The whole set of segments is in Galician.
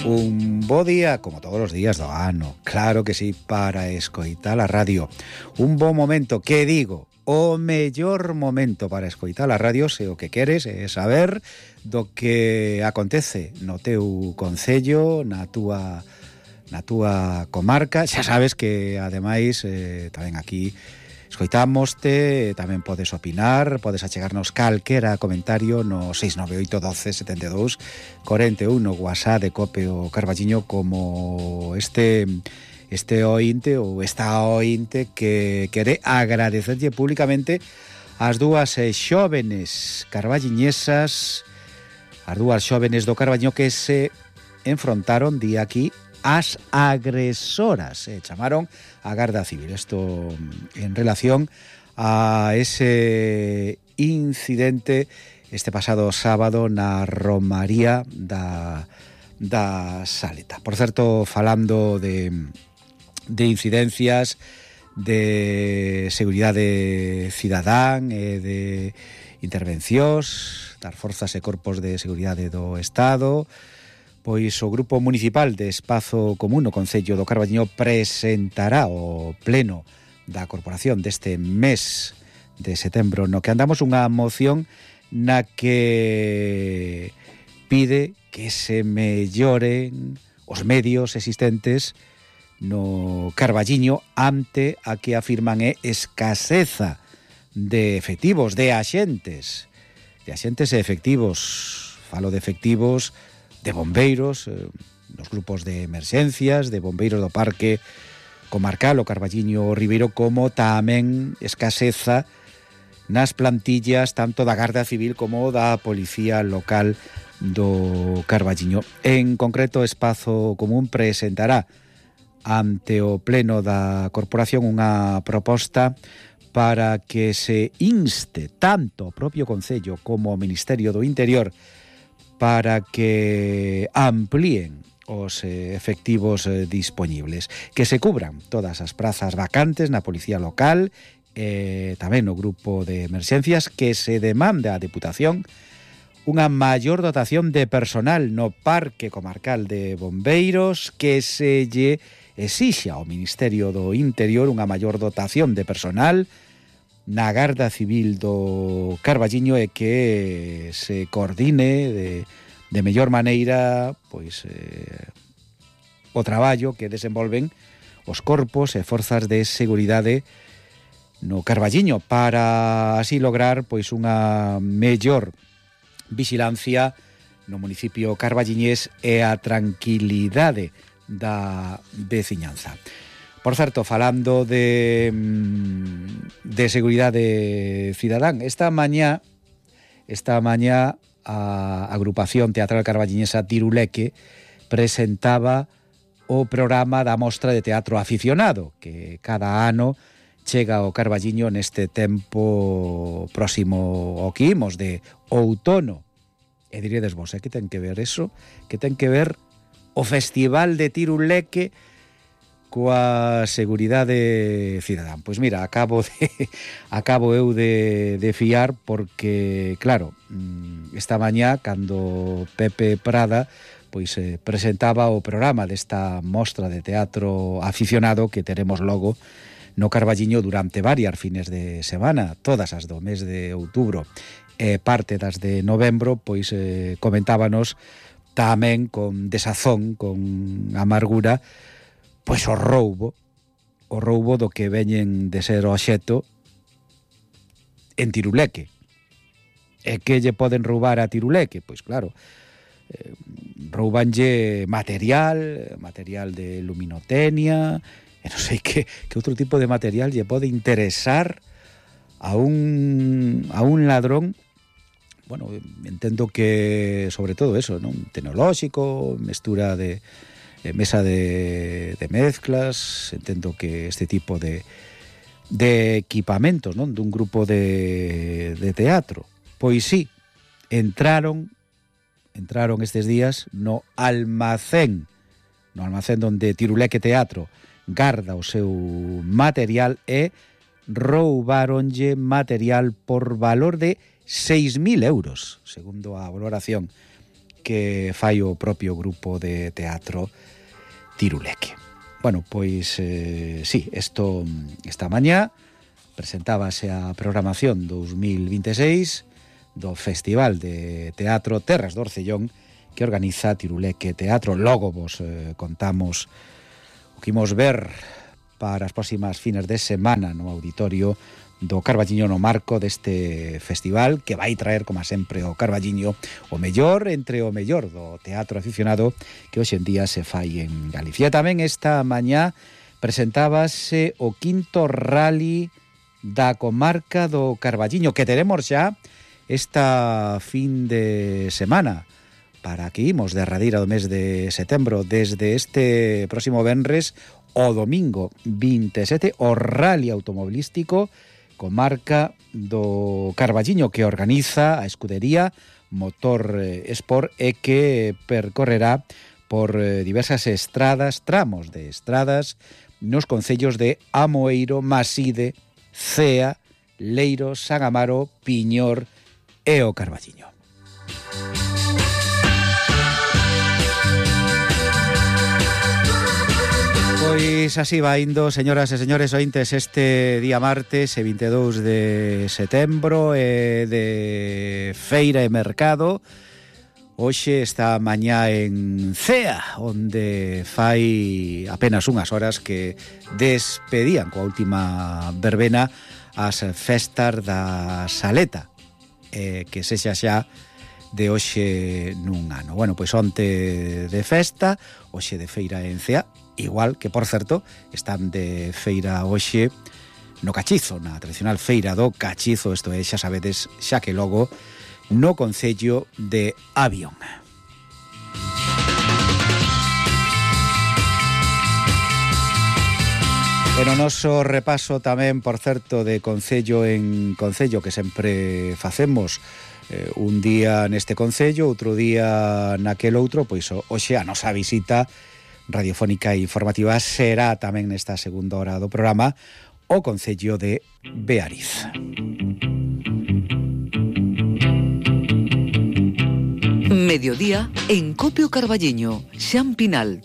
Un bo día, como todos os días do ano, claro que sí, para escoitar a radio. Un bo momento, que digo, o mellor momento para escoitar a radio, se o que queres é saber do que acontece no teu concello, na túa comarca. Xa sabes que, ademais, tamén aquí escoitámoste, tamén podes opinar, podes achegarnos calquera comentario no 698 12 72 41 no WhatsApp de Cope o Carballiño, como este ointe ou esta ointe que quere agradecerlle públicamente as dúas xóvenes carballiñesas, as dúas xóvenes do Carballiño que se enfrontaron día aquí as agresoras, chamaron a Garda Civil. Esto en relación a ese incidente este pasado sábado na Romaría da Saleta. Por certo, falando de incidencias, de seguridade cidadán e de intervencións das forzas e corpos de seguridade do Estado, pois o Grupo Municipal de Espazo Común no Concello do Carballiño presentará o pleno da corporación deste mes de setembro, no que andamos unha moción na que pide que se melloren os medios existentes no Carballiño ante a que afirman é escaseza de efectivos, de axentes e efectivos. Falo de efectivos de bombeiros, nos grupos de emerxencias, de bombeiros do Parque Comarcal o Carballiño Ribeiro, como tamén escaseza nas plantillas tanto da Garda Civil como da Policía Local do Carballiño. En concreto, Espazo Común presentará ante o pleno da corporación unha proposta para que se inste tanto o propio Concello como o Ministerio do Interior para que amplíen os efectivos dispoñibles, que se cubran todas as prazas vacantes na Policía Local e tamén no grupo de emerxencias, que se demande á Deputación unha maior dotación de personal no Parque Comarcal de Bombeiros, que se lle exixa ao Ministerio do Interior unha maior dotación de personal na Garda Civil do Carballiño e que se coordine de mellor maneira pois o traballo que desenvolven os corpos e forzas de seguridade no Carballiño para así lograr pois unha mellor vixilancia no municipio carballiñés e a tranquilidade da veciñanza. Por certo, falando de seguridade cidadán, esta mañá a agrupación teatral carballiñesa Tiruleque presentaba o programa da Mostra de Teatro Aficionado, que cada ano chega ao Carballiño neste tempo próximo ao que imos de outono. E diredes vos, que ten que ver eso? Que ten que ver o Festival de Tiruleque coa seguridade cidadán. Pois mira, acabo eu de fiar porque, claro, esta mañá, cando Pepe Prada pois presentaba o programa desta mostra de teatro aficionado que teremos logo no Carballiño durante varias fines de semana, todas as do mes de outubro e parte das de novembro, pois comentábanos tamén con desazón, con amargura, pois o roubo do que veñen de ser obxecto en Tiruleque. E que lle poden roubar a Tiruleque? Pois claro, roubanlle material de luminotecnia, e non sei que outro tipo de material lle pode interesar a un ladrón. Bueno, entendo que sobre todo eso, non? Tecnolóxico, mestura de mesa de mezclas, entendo que este tipo de equipamentos, non? Dun grupo de teatro. Pois sí, entraron estes días no almacén onde Tiruleque Teatro garda o seu material e roubáronlle material por valor de 6.000 euros, segundo a valoración que fai o propio grupo de teatro Tiruleque. Bueno, pois sí, esta mañá presentábase a programación 2026 do Festival de Teatro Terras do Orcellón que organiza Tiruleque Teatro. Logo vos contamos o que imos ver para as próximas fines de semana no auditorio do Carballiño no marco deste festival que vai traer, como sempre, o Carballiño o mellor entre o mellor do teatro aficionado que hoxe en día se fai en Galicia. Tamén esta mañá presentábase o 5º rally da comarca do Carballiño que teremos xa esta fin de semana para que imos derradeira do mes de setembro desde este próximo venres o domingo 27 o rally automobilístico comarca do Carballiño que organiza a escudería Motor Sport e que percorrerá por diversas tramos de estradas nos concellos de Amoeiro, Maside, Cea, Leiro, San Amaro, Piñor e o Carballiño. Pois así va indo, señoras e señores ointes, este día martes, 22 de setembro, de feira e mercado. Hoxe esta mañá en Cea, onde fai apenas unhas horas que despedían coa última verbena as festas da Saleta, que sexa xa de hoxe nun ano. Bueno, pois onte de festa, hoxe de feira en Cea, igual que, por certo, están de feira hoxe no Cachizo, na tradicional feira do Cachizo, isto é, xa sabedes, xa que logo no concello de Avión. E no noso repaso tamén, por certo, de concello en concello, que sempre facemos un día neste concello, outro día naquel outro, pois hoxe a nosa visita radiofónica e informativa será tamén nesta segunda hora do programa o concello de Beariz. Mediodía en Copio Carballiño, Xan Pinal.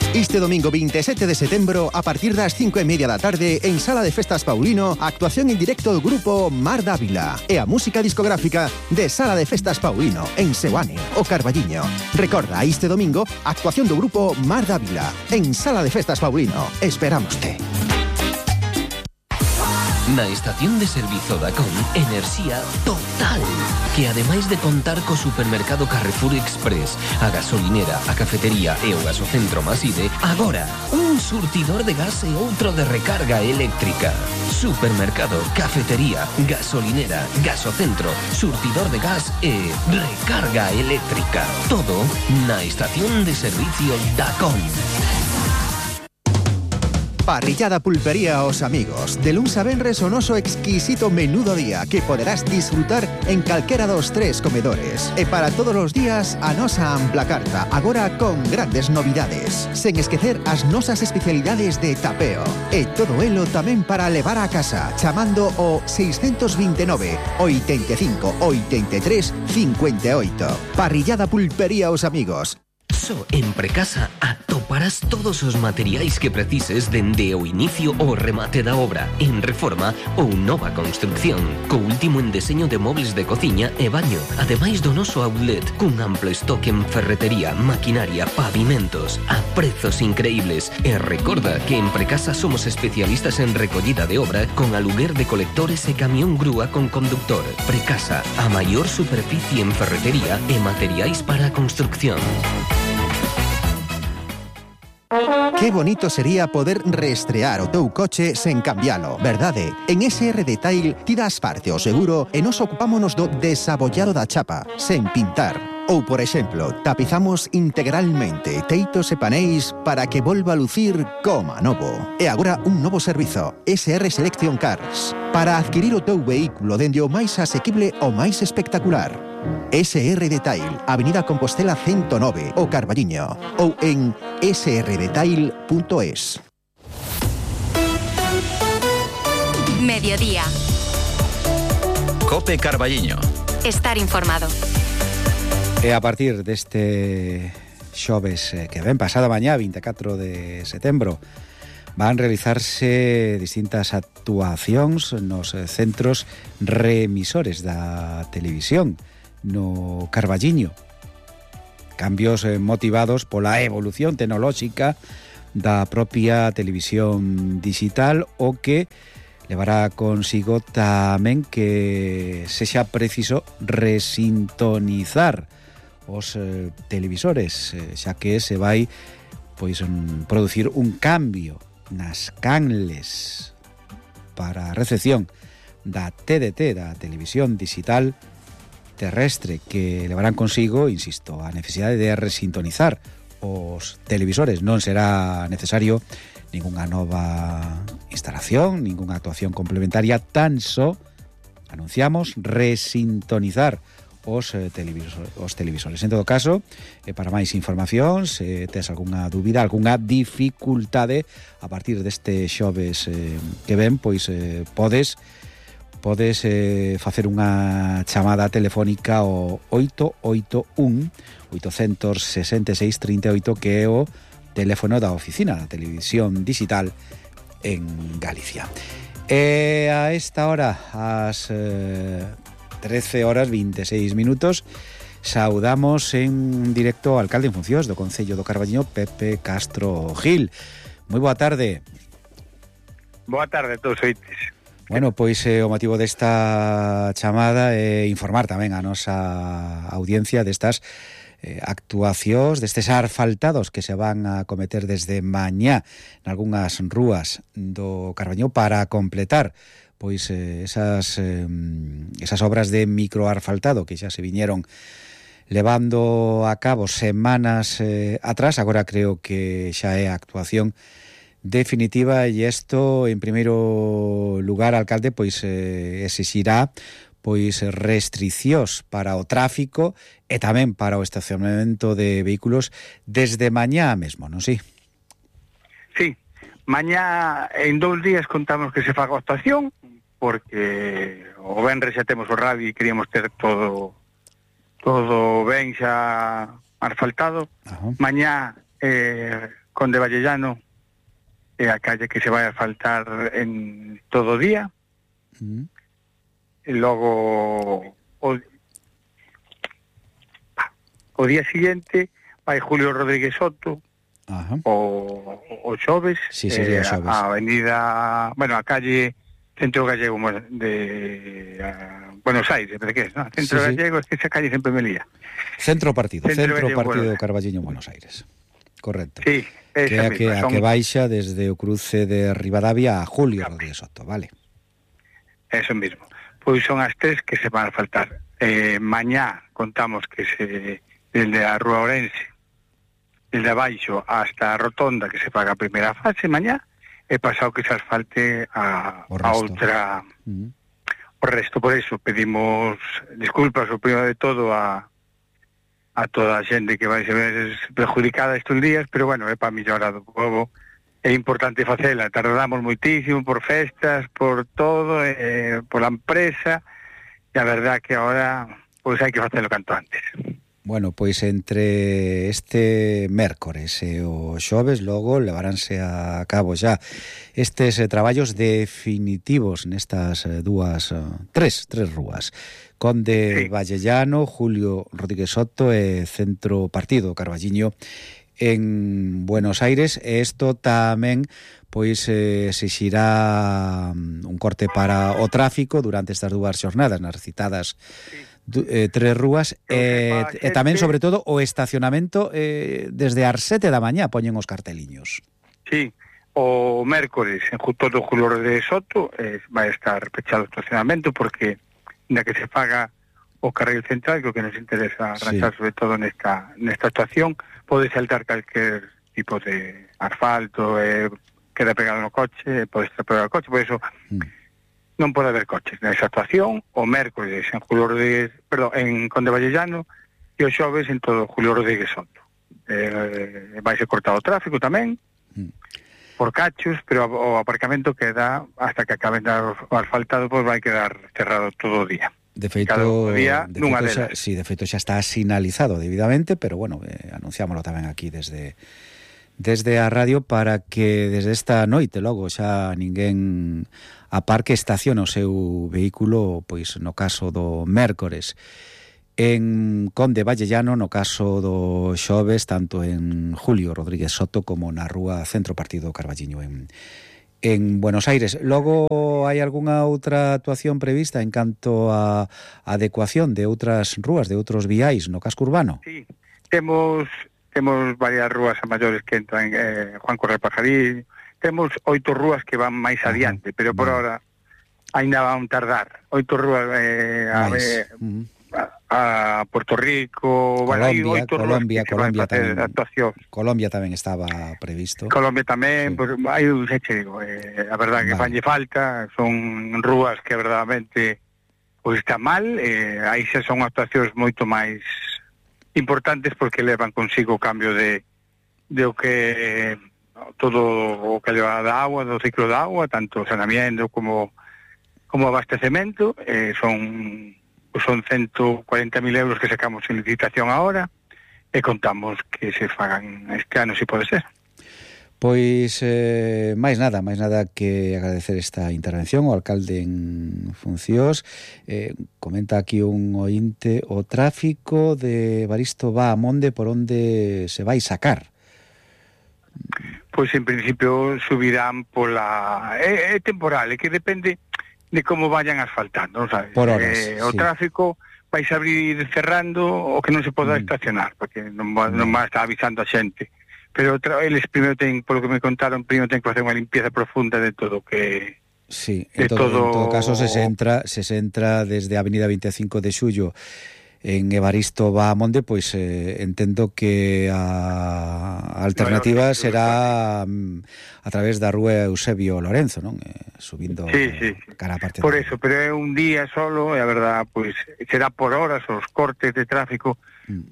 Este domingo 27 de setembro, a partir das 5:30 da tarde, en Sala de Festas Paulino, actuación en directo do grupo Mar Dávila e a música discográfica de Sala de Festas Paulino, en Seoane, o Carballiño. Recorda, este domingo, actuación do grupo Mar Dávila, en Sala de Festas Paulino. Esperámoste. Na estación de servizo Dacom, enerxía total, que ademais de contar co supermercado Carrefour Express, a gasolinera, a cafetería e o gasocentro Maside, agora un surtidor de gas e outro de recarga eléctrica. Supermercado, cafetería, gasolinera, gasocentro, surtidor de gas e recarga eléctrica. Todo na estación de servicio Dacom. Parrillada Pulpería Os Amigos. De luns a venres o noso exquisito menú do día que poderás disfrutar en calquera dos 3 comedores. E para todos os días a nosa ampla carta, agora con grandes novidades. Sen esquecer as nosas especialidades de tapeo. E todo elo tamén para levar a casa, chamando o 629 85 83 58. Parrillada Pulpería Os Amigos. Só en Precasa atoparás todos os materiais que precises dende o inicio ao remate da obra, en reforma ou nova construcción, co último en deseño de mobles de cociña e baño, ademais do noso outlet, cun amplo estoque en ferretería, maquinaria, pavimentos, a prezos increíbles. E recorda que en Precasa somos especialistas en recollida de obra con aluguer de colectores e camión grúa con conductor. Precasa, a maior superficie en ferretería e materiais para a construcción. Que bonito sería poder reestrear o teu coche sen cambialo, verdade? En SR Detail ti das parte o seguro e nos ocupámonos do desabollado da chapa, sen pintar. Ou, por exemplo, tapizamos integralmente teitos e paneis para que volva a lucir como novo. E agora un novo servizo, SR Selection Cars, para adquirir o teu vehículo dende o máis asequible ao máis espectacular. SR Detail, Avenida Compostela 109, o Carballiño, ou en srdetail.es. Mediodía. Cope Carballiño. Estar informado. E a partir deste xoves que ven, pasada mañá, 24 de setembro, van realizarse distintas actuacións nos centros reemisores da televisión no Carballiño. Cambios motivados pola evolución tecnolóxica da propia televisión digital, o que levará consigo tamén que sexa preciso resintonizar os televisores, xa que se vai producir un cambio nas canles para a recepción da TDT, da televisión digital terrestre, que levarán consigo, insisto, a necesidade de resintonizar os televisores. Non será necesario ningunha nova instalación, ningunha actuación complementaria, tan só anunciamos resintonizar os televisores. En todo caso, para máis información, se tes algunha dúbida, algunha dificultade, a partir deste xoves que ven, pois podes facer unha chamada telefónica ao 881 866 38, que é o teléfono da oficina da televisión digital en Galicia. E a esta hora, ás 13 horas 26 minutos, saudamos en directo ao alcalde en funcións do Concello do Carballiño, Pepe Castro Gil. Moi boa tarde. Boa tarde a todos oites. Bueno, pois o motivo desta chamada é informar tamén a nosa audiencia destas actuacións, destes asfaltados que se van a cometer desde mañá nalgúnas rúas do Carballiño para completar pois esas obras de microasfaltado que xa se viñeron levando a cabo semanas atrás. Agora creo que xa é a actuación definitiva, e isto, en primeiro lugar, alcalde, pois exixirá pois restriccións para o tráfico e tamén para o estacionamento de vehículos desde mañá mesmo, non si? Sí, mañá en 2 días contamos que se faga a actuación, porque o venres xa temos o radio e queríamos ter todo ben xa asfaltado. Ajá. Mañá Conde Vallellano é a calle que se vai a asfaltar en todo o día. E logo o día siguiente vai Julio Rodríguez Soto. Ajá. O xoves, sí, sería xoves. A avenida, bueno, a calle Centro Gallego de Buenos Aires, ¿pero qué es? ¿No? Centro Gallego, es que esa calle sempre me lía. Centro Partido Carballiño, Buenos Aires. Correcto. Sí, que a que baixa desde o cruce de Rivadavia a Julio Rodríguez Soto, vale. Eso mismo. Pois son as 3 que se van a faltar. Mañá contamos que desde a Rúa Ourense, desde abaixo hasta a Rotonda, que se paga a primeira fase mañá, e pasado que se asfalte a outra, o resto. Por eso pedimos disculpas, o primeiro de todo, a toda a xente que vai ser perjudicada estes días, pero bueno, é para mellorar do povo. É importante facela, tardamos moitísimo por festas, por todo, por a empresa, e a verdad que agora pois hai que facelo canto antes. Bueno, pois entre este mércores e o xoves logo levaránse a cabo xa estes traballos definitivos nestas tres rúas. Conde Vallellano, Julio Rodríguez Soto e Centro Partido Carballiño en Buenos Aires. E isto tamén pois exixirá un corte para o tráfico durante estas 2 xornadas nas citadas 3 rúas, e tamén, sobre todo, o estacionamento desde as 7 da mañá poñen os carteliños. Sí, o mércores en todo Julio Rodríguez Soto vai estar pechado o estacionamento, porque na que se paga o carril central, que o que nos interesa arranxar sobre todo nesta actuación, pode saltar calquer tipo de asfalto, queda pegado no coche, pode estar pegado no coche, por eso non pode haber coches nesa actuación. O mércores en Julio Rodríguez, en Conde Vallellano, e o xoves en todo Julio Rodríguez Soto. Vai ser cortado o tráfico tamén por cachos, pero o aparcamento queda hasta que acaben o asfaltado, pois vai quedar cerrado todo o día. De feito, cada día nunha delas. Sí, de feito xa está sinalizado debidamente, pero bueno, anunciámoslo tamén aquí desde a radio para que desde esta noite logo xa ninguén aparque, estacione o seu vehículo, pois no caso do mércores en Conde Vallellano, no caso do xoves tanto en Julio Rodríguez Soto como na rúa Centro Partido Carballiño en Buenos Aires. Logo hai algunha outra actuación prevista en canto a adecuación de outras rúas, de outros viais no casco urbano? Sí, temos varias rúas a maiores que entran Juan Correa Pajarín, temos 8 rúas que van máis adiante, pero por ahora ainda van tardar. 8 rúas a Puerto Rico, Colombia tamén estaba previsto. Colombia tamén, sí. Pues, hai un digo, a verdade que fanlle falta, son rúas que verdadeiramente pois está mal, aí xa son actuacións moito máis importantes porque levan consigo o cambio de o que todo o que leva da agua, do ciclo da agua, tanto saneamiento como abastecemento, son 140.000 euros que sacamos en licitación ahora e contamos que se fagan este ano, se pode ser. Pois máis nada que agradecer esta intervención ao alcalde en funcións. Comenta aquí un ointe: o tráfico de Evaristo va a Monde, por onde se vai sacar? Pois en principio subirán pola... É temporal, é que depende de como vayan asfaltando, sabes? Por horas, o tráfico vais a abrir cerrando o que non se poda estacionar, porque non va a estar avisando a xente. Pero eles primeiro ten, polo que me contaron, primeiro ten que facer unha limpieza profunda de todo que... Sí, en todo caso se entra desde a Avenida 25 de Xullo en Evaristo va a Monde, pois entendo que a alternativa será a través da rúa Eusebio Lorenzo, non? Subindo cara a parte por eso, pero é un día solo e a verdad, pois será por horas os cortes de tráfico,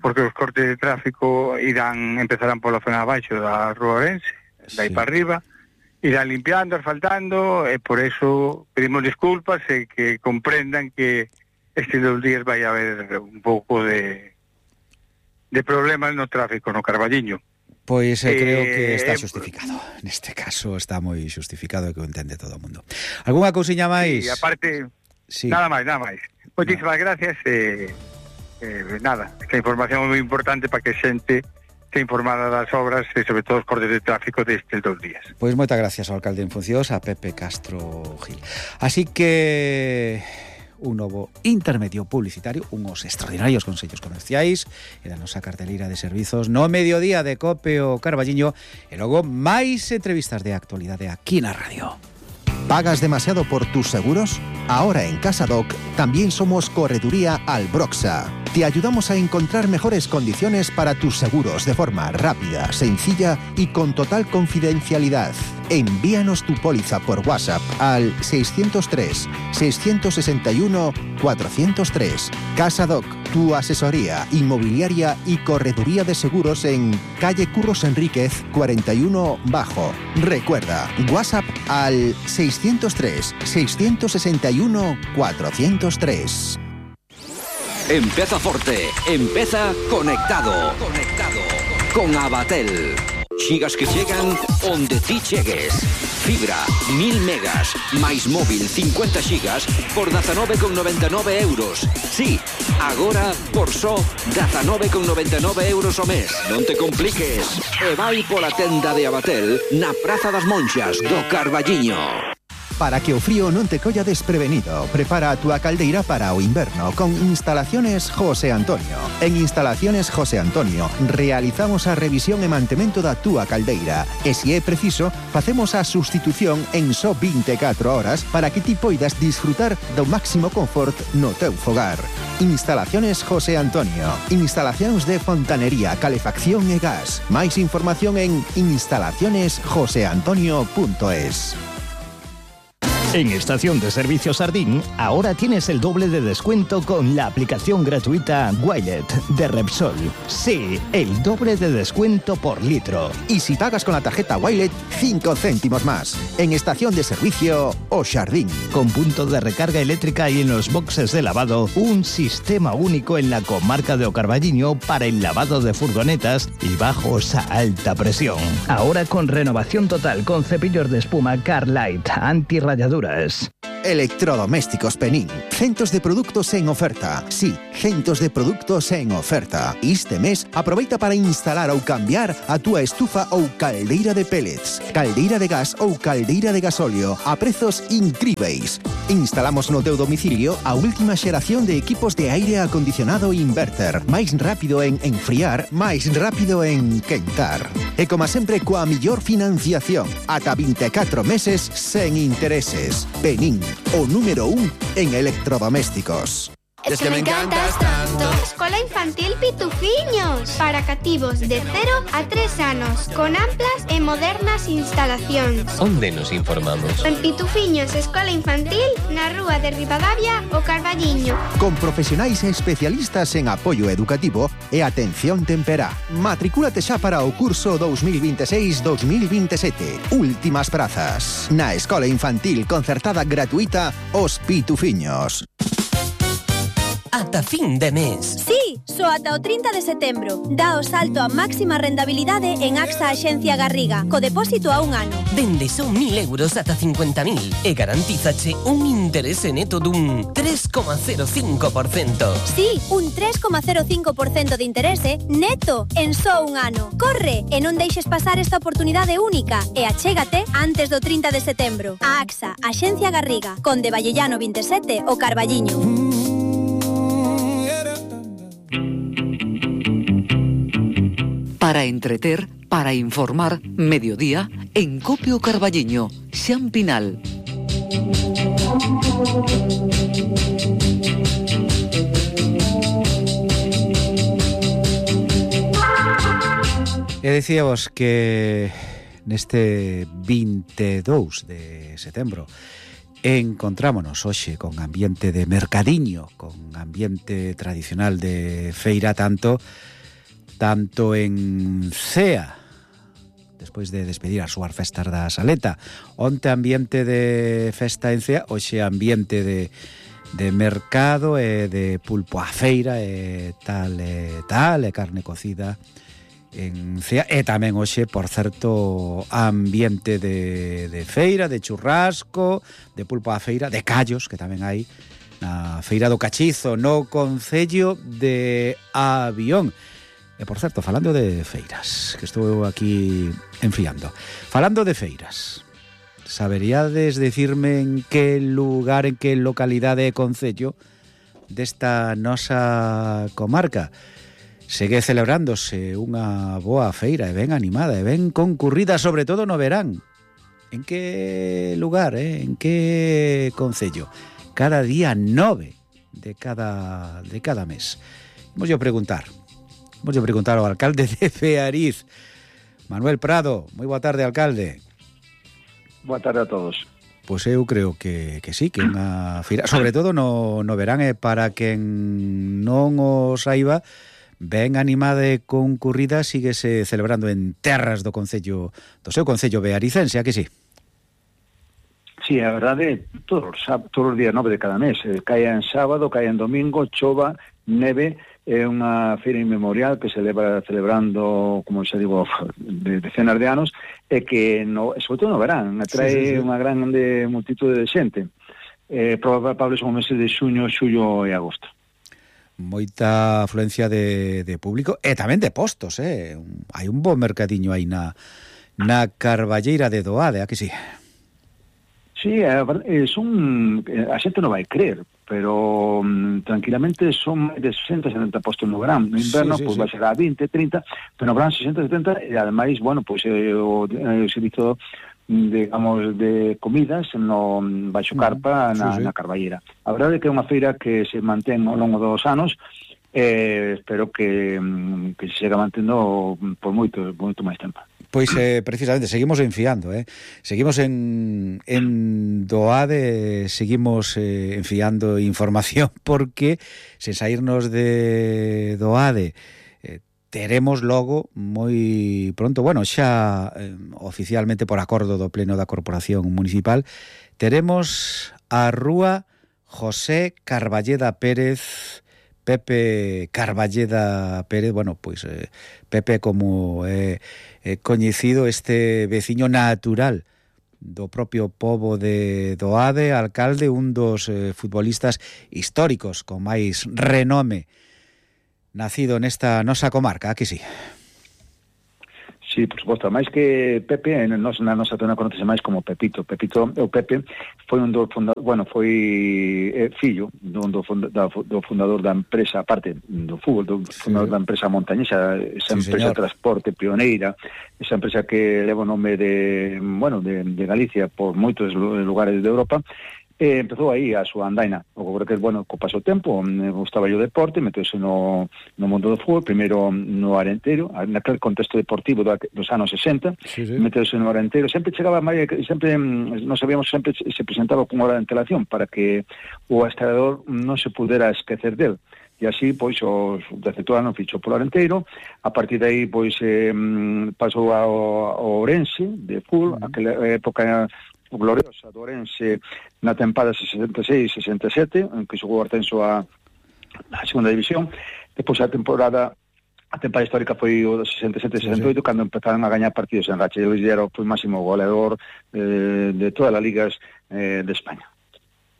porque os cortes de tráfico empezarán pola zona abaixo da rúa Orense, dai para arriba, irán limpiando, asfaltando, e por eso pedimos disculpas e que comprendan que estes 2 días vai haber un pouco de problemas no tráfico no Carballiño. Pois creo que está xustificado. Neste caso está moi xustificado e que o entende todo o mundo. Algúnha cousiña máis? Sí, aparte, nada máis. Moitísimas gracias. Esta información é moi importante para que a xente esté informada das obras e sobre todo os cortes de tráfico destes 2 días. Pois moitas gracias ao alcalde en funcións, a Pepe Castro Gil. Así que... un novo intermedio publicitario, unos extraordinarios consellos comerciais e da nosa carteleira de servizos no mediodía de Cope o Carballiño e logo máis entrevistas de actualidade aquí na radio. ¿Pagas demasiado por tus seguros? Ahora en CasaDoc también somos Correduría Albroxa. Te ayudamos a encontrar mejores condiciones para tus seguros de forma rápida, sencilla y con total confidencialidad. Envíanos tu póliza por WhatsApp al 603-661-403. CasaDoc, tu asesoría inmobiliaria y correduría de seguros en calle Curros Enríquez 41 Bajo. Recuerda, WhatsApp al 603-661-403. Empeza forte, empeza conectado. Con Abatel. Xigas que chegan onde ti chegues. Fibra, 1000 megas, máis móvil 50 xigas por 19,99 euros. Sí, agora por só 19,99 euros o mes. Non te compliques. E vai pola tenda de Abatel na Praza das Monxas do Carballiño. Para que o frío non te colla desprevenido, prepara a túa caldeira para o inverno con Instalaciones José Antonio. En Instalaciones José Antonio realizamos a revisión e mantemento da túa caldeira e, se é preciso, facemos a sustitución en só 24 horas para que ti poidas disfrutar do máximo confort no teu fogar. Instalaciones José Antonio. Instalacións de fontanería, calefacción e gas. Máis información en instalacionesjoseantonio.es. En Estación de Servicio Sardín, ahora tienes el doble de descuento con la aplicación gratuita Wilet de Repsol. Sí, el doble de descuento por litro. Y si pagas con la tarjeta Wilet, 5 céntimos más. En Estación de Servicio O Sardín. Con punto de recarga eléctrica y en los boxes de lavado, un sistema único en la comarca de O Carballiño para el lavado de furgonetas y bajos a alta presión. Ahora con renovación total con cepillos de espuma Carlite anti-rayaduras. Electrodomésticos Penín. Centos de produtos en oferta. Sí, centos de produtos en oferta. Este mes aproveita para instalar ou cambiar a túa estufa ou caldeira de pellets, caldeira de gas ou caldeira de gasóleo a prezos incríveis. Instalamos no teu domicilio a última xeración de equipos de aire acondicionado inverter. Máis rápido en enfriar, máis rápido en quentar. E como sempre coa millor financiación, ata 24 meses sen intereses. Penín, o número 1 en electrodomésticos. Es que me encantas tanto. Escola Infantil Pitufiños, para cativos de 0 a 3 anos, con amplas e modernas instalacións. Onde nos informamos? En Pitufiños Escola Infantil, na rúa de Ribadavia, O Carballiño. Con profesionais e especialistas en apoio educativo e atención temperá. Matricúlate xa para o curso 2026-2027. Últimas prazas. Na Escola Infantil Concertada Gratuita Os Pitufiños. Ata fin de mes. Sí, só ata o 30 de setembro. Dá o salto a máxima rendabilidade en AXA Axencia Garriga, co depósito a un ano. Dende son 1.000 euros ata 50.000 e garantízache un interese neto dun 3,05%. Sí, un 3,05% de interese neto en só un ano. Corre e non deixes pasar esta oportunidade única e achégate antes do 30 de setembro. A AXA Axencia Garriga, Conde Vallellano 27, O Carballiño. Para entreter, para informar, mediodía, en Copio Carballiño, Xan Pinal. E dicíamos que neste 22 de setembro encontrámonos hoxe con ambiente de mercadiño, con ambiente tradicional de feira, tanto en Cea, despois de despedir as súas festas da Saleta. Onte ambiente de festa en Cea, hoxe ambiente de mercado e de pulpo a feira e tal, e carne cocida en Cea. E tamén hoxe, por certo, ambiente de feira, de churrasco, de pulpo a feira, de callos, que tamén hai na feira do Cachizo, no concello de Avión. E, por certo, falando de feiras, que estou aquí enfriando. Falando de feiras, saberíades dicirme en que lugar, en que localidade e concello desta nosa comarca segue celebrándose unha boa feira e ben animada e ben concurrida, sobre todo no verán? En que lugar, en que concello? Cada día 9 de cada mes. Vamos a preguntar ao alcalde de Feariz, Manuel Prado. Moi boa tarde, alcalde. Boa tarde a todos. Pois eu creo que sí, que unha feira, sobre todo no verán, e para quen non o saiba, ben animada e concurrida, síguese celebrando en terras do concello, do seu concello bearicense, a que sí? Sí, a verdade, todos os días 9 de cada mes, caia en sábado, caia en domingo, chova, neve. É unha feira inmemorial que se leva celebrando, como xa digo, de decenas de anos, e que, sobre todo no verán, atrae unha grande multitude de xente. Probable son os meses de xuño, xullo e agosto. Moita afluencia de público e tamén de postos, hai un bo mercadiño aí na Carballeira de Doade, a que sí? Sí, a xente non vai creer, pero tranquilamente son máis de 60-70 postos no verán. No inverno, vai ser a 20, 30, pero no verán 60-70, e ademais, bueno, o servizo, digamos, de comidas no baixo carpa na Carballeira. A verdade é que é unha feira que se mantén ao longo dos anos, espero que se siga mantendo por moito máis tempo. Pois precisamente seguimos enfiando, seguimos en DOADE, seguimos enfiando información, porque sen saírnos de DOADE teremos logo moi pronto, bueno, xa oficialmente por acordo do Pleno da Corporación Municipal, teremos a Rúa José Carballeda Pérez, Pepe Carballeda Pérez, bueno, pois Pepe como coñecido, este veciño natural do propio pobo de DOADE, alcalde, un dos futbolistas históricos con máis renome nacido nesta nosa comarca, aquí sí. Sí, por suposto, máis que Pepe, na nosa zona conoce máis como Pepito. O Pepe foi un do fundador, bueno, foi fillo do fundador da empresa, aparte do fútbol, do fundador da empresa montañesa, esa empresa de transporte pioneira, esa empresa que leva o nome de Galicia por moitos lugares de Europa. Empezou aí a súa andaina. O que, bueno, co paso tempo, gustaba o deporte, meteuse no mundo do fútbol, primeiro no Arenteiro, naquele contexto deportivo dos anos 60, meteuse no Arenteiro, sempre chegaba máis, sempre, non sabíamos, sempre se presentaba con hora de antelación para que o adestrador non se pudera esquecer del. E así, pois, os 17 anos fichou polo Arenteiro, a partir de aí, pois, pasou ao Ourense, de fútbol, aquela época gloriosa do Ourense na tempada 66-67, en que xogou o ascenso a segunda división. Depois a temporada histórica foi o 67-68, cando empezaron a gañar partidos en racha. Luis era o máximo goleador de todas as ligas de España.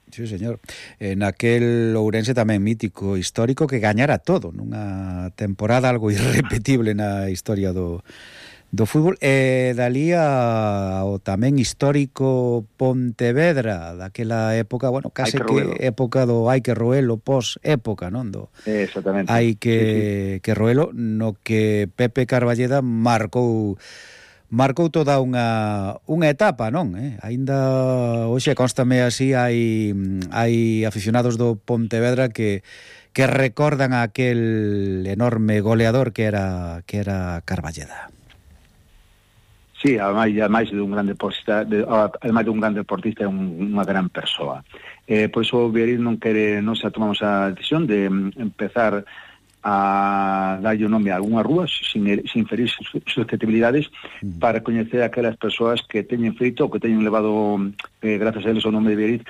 Sí, señor. Naquel Ourense tamén mítico, histórico, que gañara todo nunha temporada algo irrepetible na historia do fútbol. Dalí ao tamén histórico Pontevedra, daquela época, bueno, case que época do hai que roelo, pos-época, non? Exactamente. Hai que roelo, no que Pepe Carballeda marcou toda unha etapa, non? Aínda hoxe constame así, hai aficionados do Pontevedra que recordan a aquel enorme goleador que era Carballeda. Sí, ademais de un gran deportista, ademais de un gran deportista, é unha gran persoa. Por iso o Viariz non se tomamos a decisión de empezar a darlle o nome a algunha rúa sin ferir susceptibilidades para coñecer aquelas persoas que teñen feito ou que teñen levado, gracias a eles, o nome de Viariz,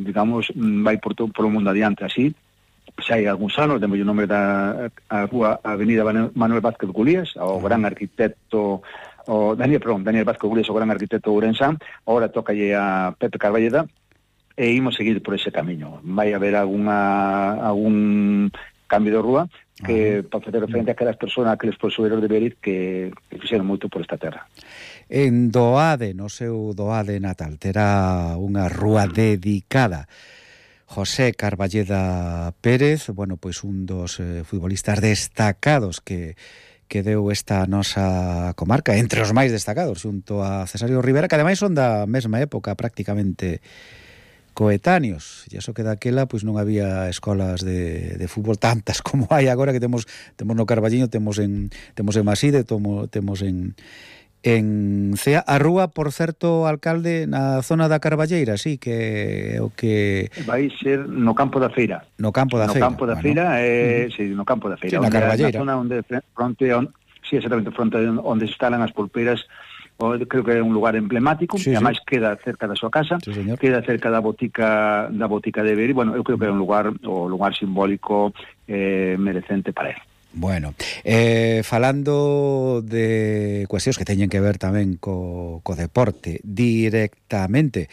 digamos, vai por o mundo adiante. Así, xa hai algúns anos, demos o nome da rúa Avenida Manuel Vázquez Gulías, ao gran arquitecto, Daniel Vázquez Gulías, o gran arquitecto ourensán. Ahora tócalle a Pepe Carballeda e imos seguir por ese camiño. Vai haber algún cambio de rúa que para facer referente a aquelas persoas, aqueles posueros de Viariz que fixeron moito por esta terra. En DOADE, no seu DOADE natal, terá unha rúa dedicada José Carballeda Pérez, bueno, pois un dos futbolistas destacados que deu esta nosa comarca, entre os máis destacados, xunto a Cesario Rivera, que ademais son da mesma época prácticamente coetáneos. E iso que daquela pois non había escolas de fútbol tantas como hai agora, que temos no Carballiño, temos en Maside, temos en Cea. A rúa, por certo, alcalde, na zona da Carballeira, sí, que o que vai ser no campo da Feira. No campo da Feira. Sí, no campo da Feira. Sí, na Carballeira. Na zona onde exactamente fronte onde se instalan as pulpeiras. Creo que é un lugar emblemático, e ademais queda cerca da súa casa, queda cerca da botica de Viariz. Bueno, eu creo que é un lugar simbólico merecente para él. Bueno, falando de cuestións que teñen que ver tamén co deporte directamente,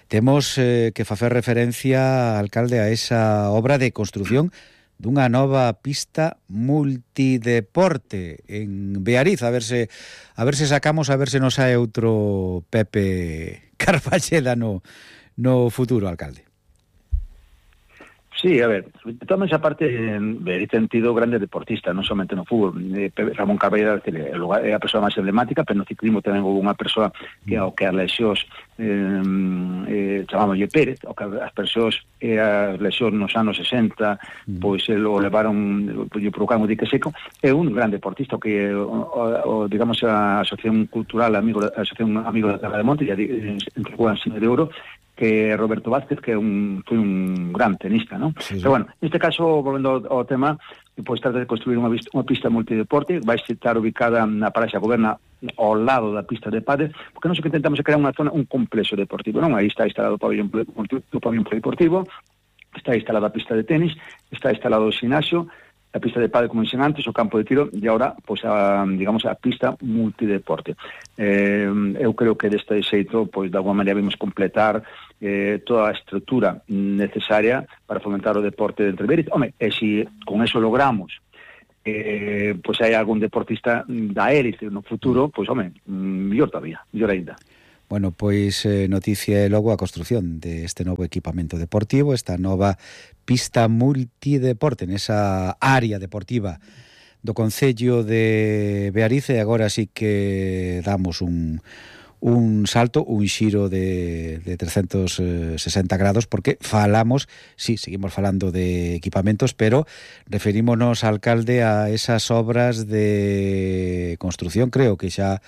temos que facer referencia, alcalde, a esa obra de construción dunha nova pista multideporte en Viariz, a ver se sacamos, a ver se nos sae outro Pepe Carballeda no futuro, alcalde. Sí, a ver, toda esa parte ten tido grandes deportistas, non somente no fútbol. Ramón Carballeira é a persoa máis emblemática, pero no ciclismo tamén houve unha persoa que ao que as lesións chamámoslle Pérez, ao que as persoas as lesións nos anos 60 pois o levaron, lle provocaron o dique seco. É un gran deportista que digamos a Asociación Cultural a Asociación Amigos da Terra de Monte entregou a Ensino de Ouro, que Roberto Vázquez, que foi un gran tenista, ¿no? Sí. Pero bueno, neste caso, volvendo ao tema, pois trata de construir unha pista multideporte, vai estar ubicada na Paraxa Goberna ao lado da pista de pádel, porque nós o que intentamos é crear unha zona, un complexo deportivo, non? Aí está instalado o pabellón polideportivo, está instalada a pista de tenis, está instalado o xinasio, a pista de pádel, como dixen antes, o campo de tiro, e agora, pois, digamos, a pista multideporte. Eu creo que deste xeito, pois, de alguma maneira, vimos completar toda a estrutura necesaria para fomentar o deporte de Beariz. Home, e se con eso logramos pois hai algún deportista da élite no futuro, pois, home, mellor todavía, mellor ainda. Bueno, pois noticia é logo a construción deste novo equipamento deportivo, esta nova pista multideporte nesa área deportiva do Concello de Beariz, e agora sí que damos un salto, un xiro de 360 grados, porque falamos, sí, seguimos falando de equipamentos, pero referímonos, alcalde, a esas obras de construción, creo que xa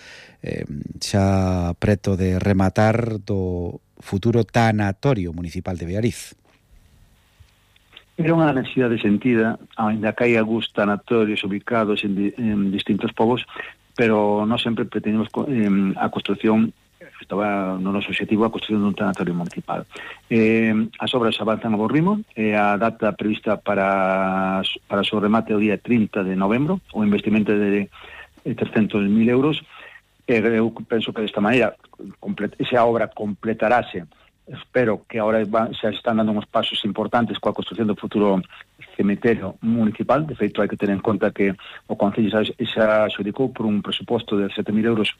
preto de rematar do futuro tanatorio municipal de Beariz. Era unha necesidade sentida, ainda que hai algúns tanatorios ubicados en distintos povos, pero non sempre pretendemos a construción, estaba no noso objetivo a construción dun tanatorio municipal. As obras avanzan a bo ritmo, a data prevista para o seu remate o día 30 de novembro, o investimento de 300.000 euros. Eu penso que desta maneira esa obra completarase. Espero que agora se están dando uns pasos importantes coa construción do futuro cemiterio municipal. De feito, hai que ter en conta que o Concello xa adxudicou por un presuposto de 7.000 euros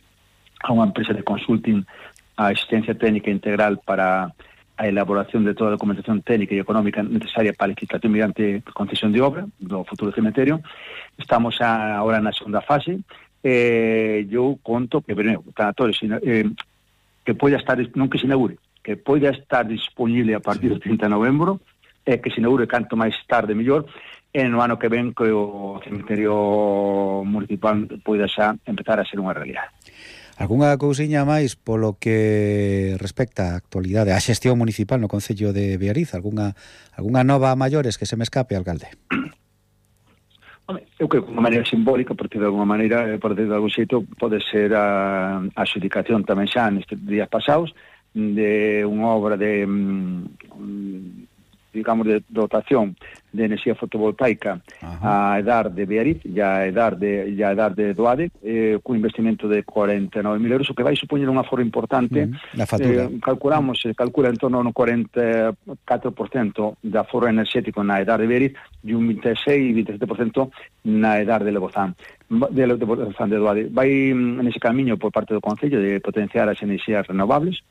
a unha empresa de consulting a asistencia técnica integral para a elaboración de toda a documentación técnica e económica necesaria para a licitación mediante concesión de obra do futuro cemiterio. Estamos agora na segunda fase. Eu conto que o tanatorio que poida estar, non que se inaugure, que poida estar disponible a partir do 30 de novembro, e que se inaugure canto máis tarde mellor, e no ano que ven que o cemiterio municipal poida xa empezar a ser unha realidade. Algúnha cousiña máis polo que respecta á actualidade, á xestión municipal no Concello de Beariz? Algúnha nova a maiores que se me escape, alcalde? Eu creo que de unha maneira simbólica, porque de alguma maneira, por decir de algún xeito, pode ser a adxudicación tamén xa nestes días pasados de unha obra de digamos, de dotación de enerxía fotovoltaica a edar de Beariz e a edar de Doade, cun investimento de 49.000 euros, o que vai supoñer un aforro importante. Na factura. Calcula en torno a un 44% de aforro enerxético na edar de Beariz e un 26-27% na edar de Lebozán. De Doade. Vai nese camiño por parte do Concello de potenciar as enerxías renovables.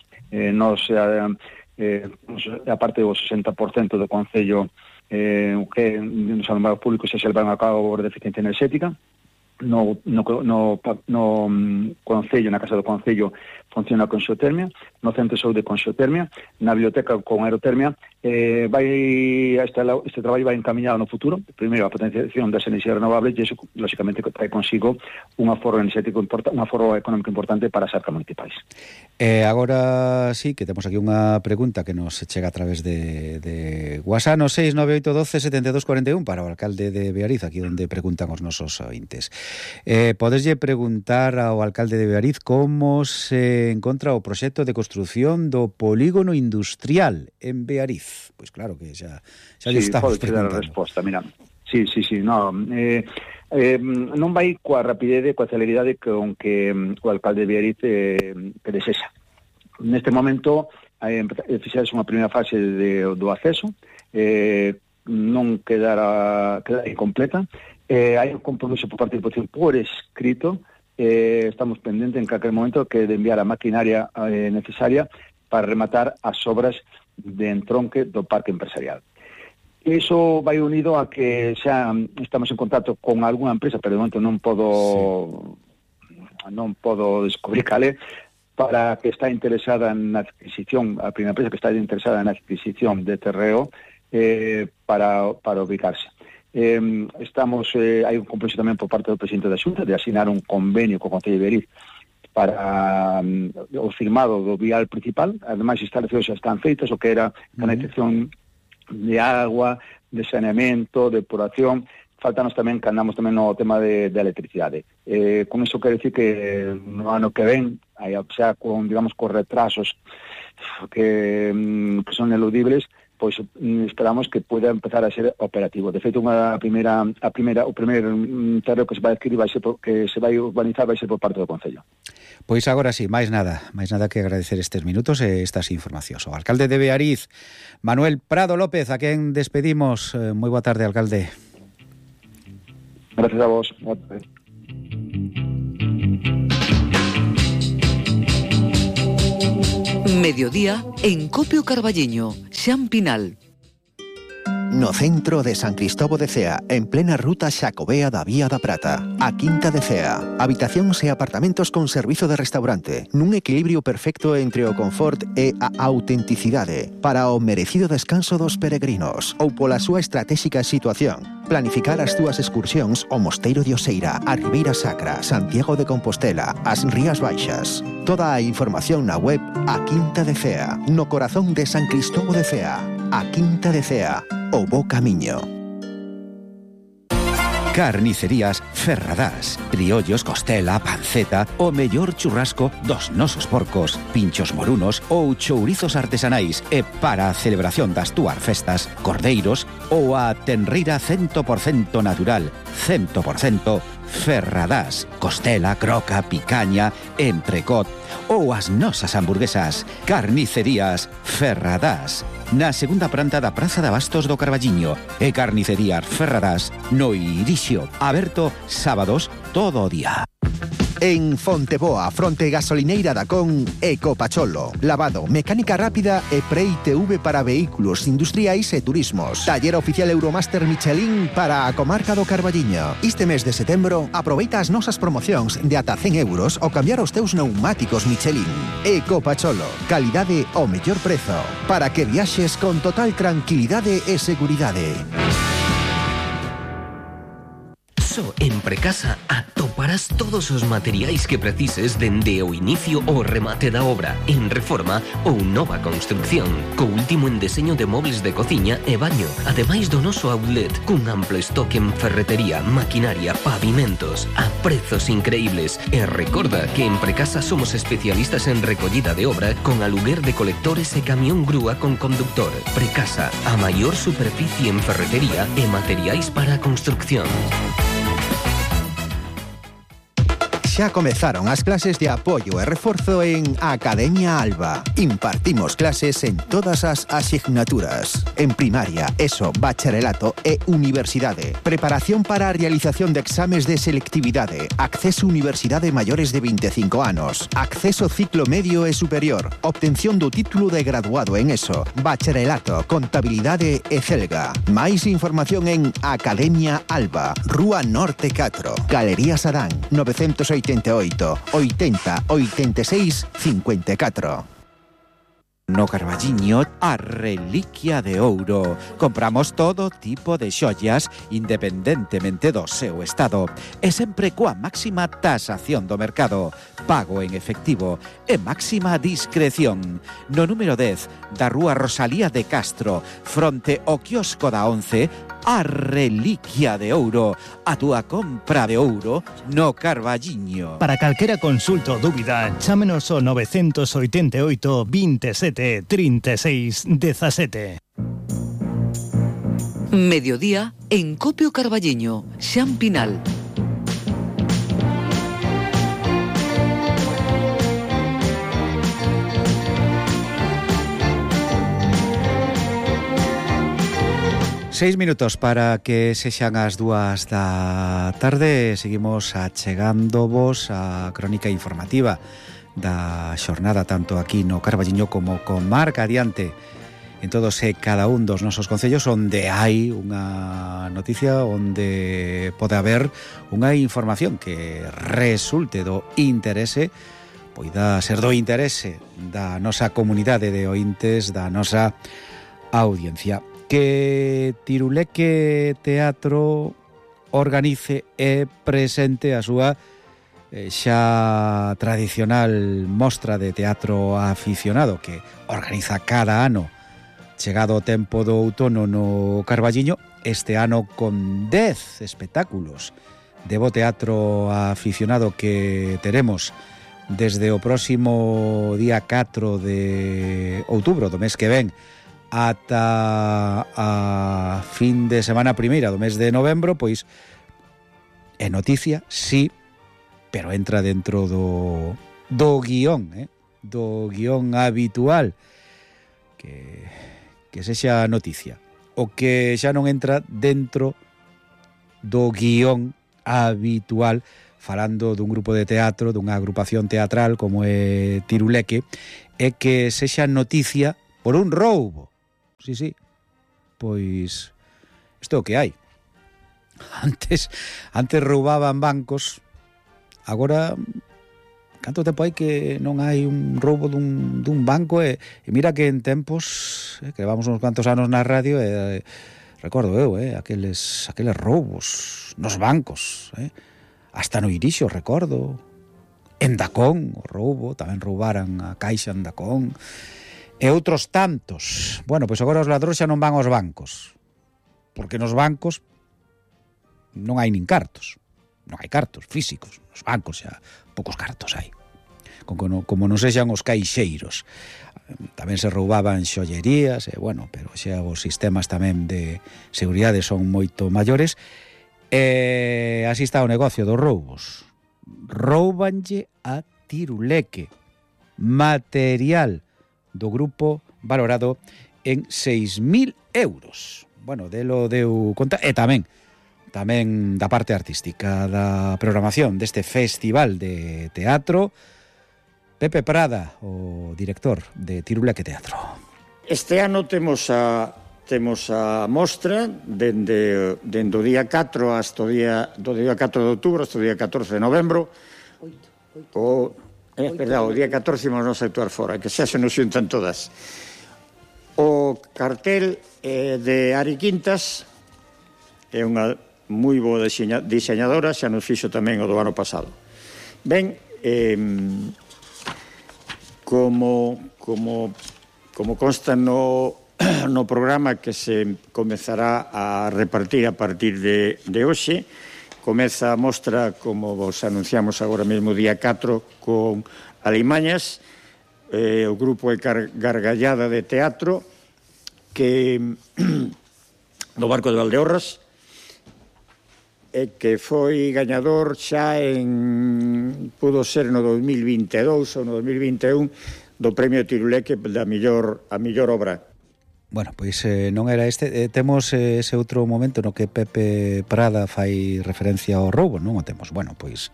A parte do 60% do Concello que nos alumbrados públicos se levan a cabo de eficiencia enerxética. No Concello, na Casa do Concello, funciona con xeotermia, no Centro de Saúde con xeotermia, na biblioteca con aerotermia. Este traballo vai encaminhado no futuro, primeiro a potenciación das enerxías renovables, e iso, lógicamente, trae consigo un aforro enerxético importante, un aforro económico importante para as arcas municipais. Agora sí, que temos aquí unha pregunta que nos chega a través de WhatsApp, no 698127241, para o alcalde de Beariz, aquí onde preguntan os nosos ointes. Podeslle preguntar ao alcalde de Beariz como se encontra o proxecto de construción do polígono industrial en Beariz. Pois claro que xa lle estamos preguntando. Dar a resposta, mira. Sí, non vai coa rapidez, coa celeridade con que o alcalde de Beariz que desexa. Neste momento fixerase unha primeira fase do acceso, non quedara incompleta. Hai un compromiso por parte da Diputación por escrito. Estamos pendentes en calquer momento que de enviar a maquinaria necesaria para rematar as obras de entronque do parque empresarial. Iso vai unido a que xa estamos en contacto con algunha empresa, pero de momento non podo descubrir cal é, para que está interesada na adquisición, a primeira empresa que está interesada na adquisición de terreo para ubicarse. Estamos, hai un compromiso tamén por parte do presidente da Xunta de asignar un convenio co Concello de Beriz para o firmado do vial principal. Ademais, instalacións xa están feitas, o que era canalización de agua, de saneamento, de depuración. Faltanos tamén que andamos tamén no tema de electricidade. Con iso quero decir que no ano que ven, xa con, digamos, con retrasos que son eludibles, pois esperamos que pueda empezar a ser operativo. De feito, o primeiro terreo que se vai adquirir que se vai urbanizar vai ser por parte do Concello. Pois agora sí, máis nada que agradecer estes minutos e estas informacións. O alcalde de Beariz, Manuel Prado López, a quen despedimos. Moi boa tarde, alcalde. Gracias a vos. Boa tarde. Mediodía en Copio Carballiño, Xampinal. No centro de San Cristóbal de Cea, en plena ruta Xacobea da Vía da Prata, a Quinta de Cea. Habitacións e apartamentos con servizo de restaurante, nun equilibrio perfecto entre o confort e a autenticidade, para o merecido descanso dos peregrinos, ou pola súa estratégica situación. Planificar as túas excursións ao Mosteiro de Oseira, a Ribeira Sacra, Santiago de Compostela, as Rías Baixas. Toda a información na web A Quinta de Cea, no corazón de San Cristóbal de Cea. A Quinta de Cea, o bo camiño. Carnicerías Ferradás. Criollos, costela, panceta, o mellor churrasco dos nosos porcos, pinchos morunos ou chourizos artesanais, e para a celebración das túas festas, cordeiros ou a tenreira 100% natural, 100% Ferradás, costela, croca, picaña, entrecot ou as nosas hamburguesas. Carnicerías Ferradás, na segunda planta da Praza de Abastos do Carballiño, e Carnicerías Ferradás no Irixio, aberto sábados todo o día. En Fonteboa, fronte gasolineira da Con, Ecopacholo. Lavado, mecánica rápida e pre-ITV para vehículos industriais e turismos. Taller oficial Euromaster Michelin para a comarca do Carballiño. Este mes de setembro, aproveita as nosas promocións de ata 100 euros ao cambiar os teus pneumáticos Michelin. Ecopacholo, calidade ao mellor prezo, para que viaxes con total tranquilidade e seguridade. En Precasa atoparás todos os materiais que precises dende o inicio ao remate da obra, en reforma ou nova construcción, co último en deseño de mobles de cociña e baño, ademais do noso outlet, cun amplo estoque en ferretería, maquinaria, pavimentos, a prezos increíbles. E recorda que en Precasa somos especialistas en recollida de obra con aluguer de colectores e camión grúa con conductor. Precasa, a maior superficie en ferretería e materiais para a construcción. Xa comezaron as clases de apoio e reforzo en Academia Alba. Impartimos clases en todas as asignaturas. En primaria, ESO, bacharelato e universidade. Preparación para a realización de exames de selectividade. Acceso a universidade maiores de 25 anos. Acceso ciclo medio e superior. Obtención do título de graduado en ESO, bacharelato, contabilidade e celga. Máis información en Academia Alba, Rúa Norte 4, Galería Sadán, 988 80 86 54. No Carballiño, a reliquia de ouro. Compramos todo tipo de xollas independentemente do seu estado e sempre coa máxima tasación do mercado, pago en efectivo e máxima discreción. No número 10 da Rúa Rosalía de Castro, fronte ao quiosco da 11, a reliquia de ouro, a túa compra de ouro no Carballiño. Para calquera consulta ou dúbida, chámenos ao 988 27 36 17. Mediodía en Copio Carballiño, Xampinal. Seis minutos para que sexan as 2 da tarde. Seguimos achegándovos a crónica informativa da xornada tanto aquí no Carballiño como comarca adiante. en todos e cada un dos nosos concellos onde hai unha noticia, onde pode haber unha información que resulte do interese, poida ser do interese da nosa comunidade de ointes, da nosa audiencia. Que Tiruleque Teatro organice e presente a súa xa tradicional mostra de teatro aficionado que organiza cada ano chegado o tempo do outono no Carballiño, este ano con 10 espectáculos de bo teatro aficionado que teremos desde o próximo día 4 de outubro do mes que ven ata a fin de semana primeira do mes de novembro, pois é noticia, sí, pero entra dentro do guión, do guión habitual que sexa noticia. O que xa non entra dentro do guión habitual, falando dun grupo de teatro, dunha agrupación teatral como é Tiruleque, é que sexa noticia por un roubo. Sí, pois isto é o que hai. Antes roubaban bancos. Agora, canto tempo hai que non hai un roubo dun banco e mira que en tempos, que levamos uns cuantos anos na radio, recordo eu, aqueles roubos nos bancos, hasta no Irixo, recordo, en Dacón, o roubo, tamén roubaran a caixa en Dacón, e outros tantos. Bueno, pois agora os ladróns xa non van aos bancos, porque nos bancos non hai nin cartos. Non hai cartos físicos, nos bancos xa poucos cartos hai. Como non sexan os caixeiros. Tamén se roubaban xollerías, bueno, pero xa os sistemas tamén de seguridade son moito maiores. Así está o negocio dos roubos. Roubanlle a Tiruleque material do grupo valorado en 6.000 euros. Bueno, delo deu conta, e tamén da parte artística da programación deste festival de teatro, Pepe Prada, o director de Tiruleque Teatro. Este ano temos a mostra dende o día 4 hasta o día 4 de outubro hasta o día 14 de novembro. O día 14 vamos a actuar fora, que xa se nos xuntan todas. O cartel de Ari Quintas é unha moi boa diseñadora, xa nos fixo tamén o do ano pasado. Ben, como consta no programa que se comezará a repartir a partir de hoxe, comeza a mostra, como vos anunciamos agora mesmo, día 4, con Alimañas, o grupo é Gargallada de Teatro, que do Barco de Valdeorras, que foi gañador xa pudo ser no 2022 ou no 2021 do Premio Tiruleque a mellor obra. Bueno, pois non era este. Temos ese outro momento no que Pepe Prada fai referencia ao roubo, non o temos. Bueno, pois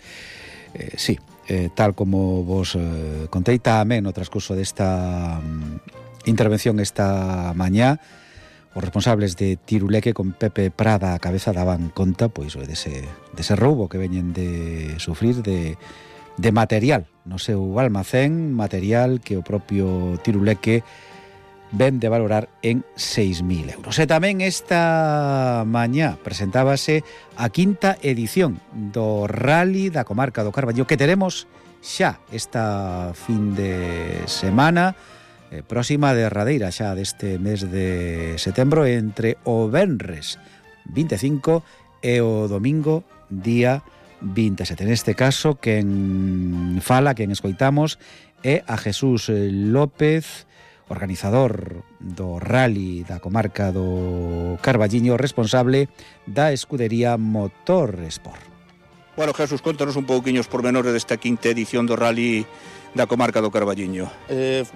sí, tal como vos contei tamén no transcurso desta intervención esta mañá, os responsables de Tiruleque con Pepe Prada a cabeza daban conta pois dese roubo que veñen de sufrir de material no seu almacén, material que o propio Tiruleque ven de valorar en 6.000 euros. E tamén esta mañá presentábase a quinta edición do Rally da comarca do Carballiño que teremos xa esta fin de semana próxima derradeira xa deste mes de setembro, entre o venres 25 e o domingo día 27. Neste caso, quen escoitamos é a Jesús López, organizador do Rally da comarca do Carballiño, responsable da escudería Motorsport. Bueno, Jesús, contanos un pouquiño os pormenores desta quinta edición do Rally da comarca do Carballiño.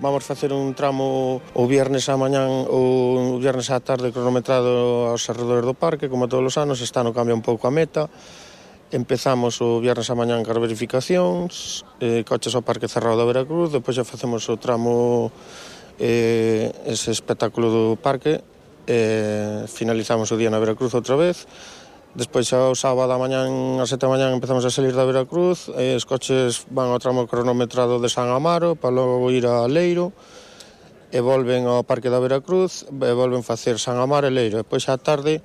Vamos facer un tramo o viernes á mañán ou o viernes á tarde cronometrado aos arredores do parque, como todos os anos. Este ano cambia un pouco a meta. Empezamos o viernes á mañán con verificacións, coches ao parque cerrado da Veracruz, depois xa facemos o tramo ese espectáculo do parque. Finalizamos o día na Veracruz outra vez. Despois ao sábado a mañán, a 7 da mañán, empezamos a salir da Veracruz. Os coches van ao tramo cronometrado de San Amaro para logo ir a Leiro, e volven ao Parque da Veracruz, e volven facer San Amaro e Leiro. Depois á tarde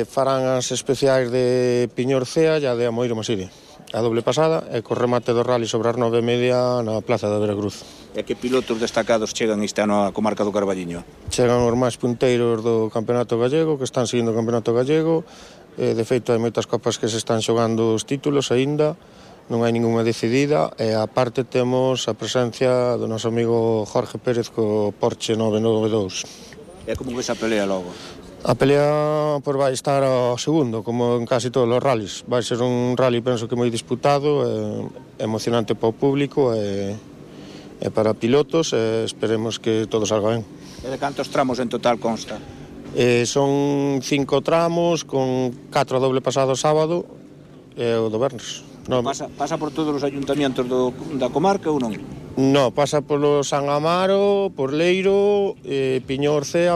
farán as especiais de Piñorcea e a de Amoeiro Maside, a doble pasada, e co remate do rally sobre as 9:30 na Plaza da Veracruz. E que pilotos destacados chegan este ano á comarca do Carballiño? Chegan os máis punteiros do Campeonato Gallego, que están seguindo o Campeonato Gallego. De feito, hai moitas copas que se están xogando os títulos aínda, non hai ningunha decidida, e aparte temos a presencia do noso amigo Jorge Pérez co Porsche 992. E como ves a pelea logo? A pelea vai estar ao segundo, como en casi todos os rallies. Vai ser un rally, penso que moi disputado, emocionante para o público e para pilotos, e esperemos que todo salga ben. E de cantos tramos en total consta? Son 5 tramos, con 4 doble pasado sábado e o do Vernes. Pasa por todos os ayuntamientos da comarca ou non? No, pasa polo San Amaro, por Leiro, Piñorcea,